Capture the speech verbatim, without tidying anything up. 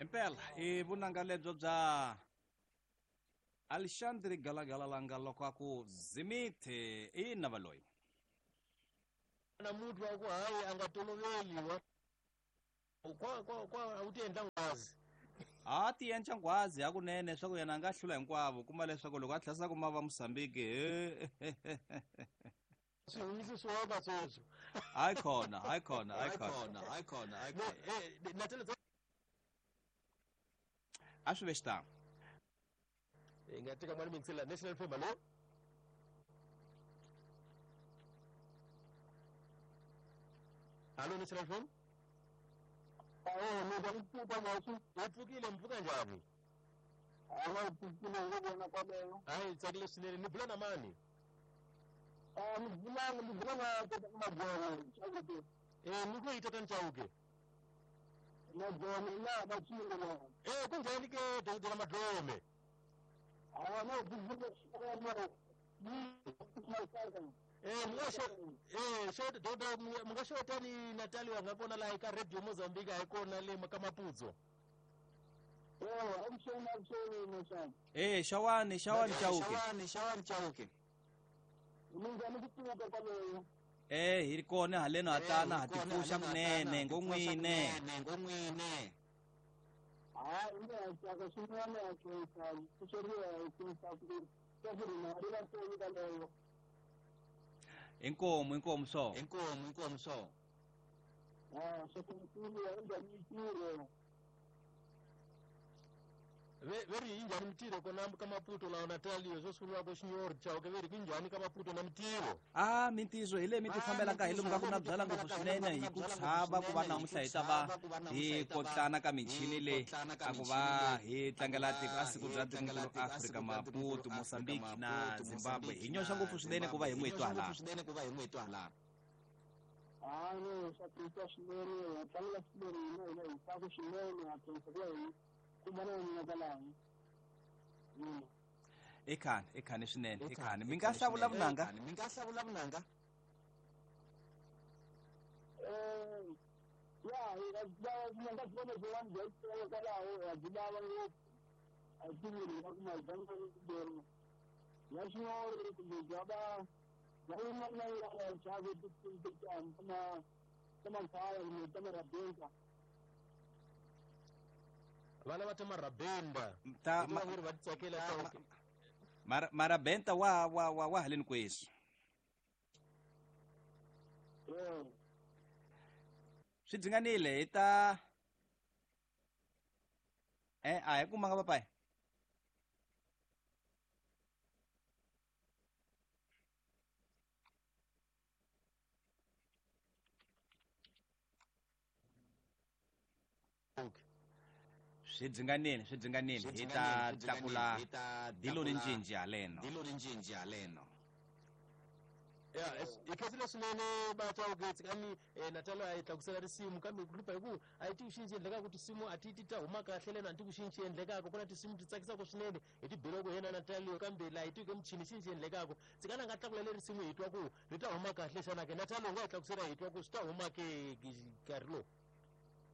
Impela i vunanga lebyo bya Alexandre Galagala loko a ku Zimithe i nava loyi. Na muthu wa ku hayi a nga toloveli kwa kwa kwa u ti endla nghwazi. A ti endla nghwazi hakunene swa ku yena a nga hlula hinkwavo kuma leswaku loko a tlhasa kuma va Mozambique. Swi humisi swo sweswo. Hayi khona, hayi khona, hayi khona, hayi khona, hayi khona. A swi ve xitano. Hi nga teka mali mingisela National F M, hallo? Hallo National F M? Awu, mina ngipfuka ngathi upfukile mpfuka njhani? Hayi, pfukile ngokubona kwaleyo. Hayi, tsakile swinene. Ni bula na mani? Ah, ni bula ni bula na tata Madzomo, Chauke. Eh, ni ku yi tata Chauke? Madzomo la ba tshilo la. Eh, kunjhani ke dokotela Madlome? Ah, no, bula Eh, munga eh xo dokotela munga xota ni Natalia nga kona la eka Radio Mozambique a yi kona le ka Maputo. Eh, amshona amshona. Eh, xawani, xawani Chauke. Xawani, xawani Chauke. Minjhani ku pfuka kwaleyo? Eh, hi ri kona haleno hatana ha tipfuxa kunene ngon'wine. Ngon'wine. Hayi, nga tsaka swinene a khensa pfuxeriwa hi khensa ku ka ku ri na ri va toni kwaleyo. Inkomu, inkomu so. Inkomu, inkomu so. Ah, swa ku ya njhani mitirho? Ve ve ri njhani mitirho kona ka Maputo la Natalia swo sungula ko Xinyorhi Chauke ve ri ku njhani ka Maputo na mitirho? Ah, mintirho hi leyi mi ti fambelaka hi lomu ka ku na byala ngopfu swinene hi ku chava ku va namuntlha hi ta va hi kotlana ka michini leyi a ku va hi tlangela tiko a siku bya tikonkulu Afrika Maputo, Mozambique na Zimbabwe. Hi nyoxa ngopfu swinene ku va hi n'wi twa hala. Swinene ku va hi n'wi twa hala. Ah, no, swa khensa swinene, ha tlangela swinene hina hina hi tsaka swinene ha khensa ku va hi kumana na kwalaho. Ekhani, ekhani swinene, ekhani. Mi nga hlawula vunanga? Mi nga hlawula vunanga? Eh, ya, ya, vunanga byi vona byin'wana bya xitolo kwalaho, ha byi lava ngopfu. A hi tivi ri nga kuma bya kumbe ya Xinyorhi kumbe bya va bya yin'wana na yin'wana xave ta ta makhaya kumbe ta marabenda. Vana va ta marabenda. Ta va ri va tsakela Chauke. Mara marabenda wa wa wa wa haleni kwesi. Eh. Swi dzinganile hi ta eh a hi kumanga papayi. Swi dzinganile, swi dzinganile. Hi ta tlakula dilo ni ncinci haleno. Dilo ni ncinci haleno. Ya, hi khensile swinene va Chauke tsikani Natalia a yi tlakusela risimu kambe ku hlupha hi ku a yi tivi xinci endlekaka tinsimu a ti ti ta huma kahle lena a ti ku xinci endlekaka ku na tinsimu ti tsakisaka swinene hi ti beloko yena Natalia kambe laha hi tivi michini xinci endlekaka tsikani a nga tlakula le risimu hi twa ku ri ta huma kahle xana ke Natalia u nga yi tlakusela hi twa ku swi ta huma ke nkarhi lowu.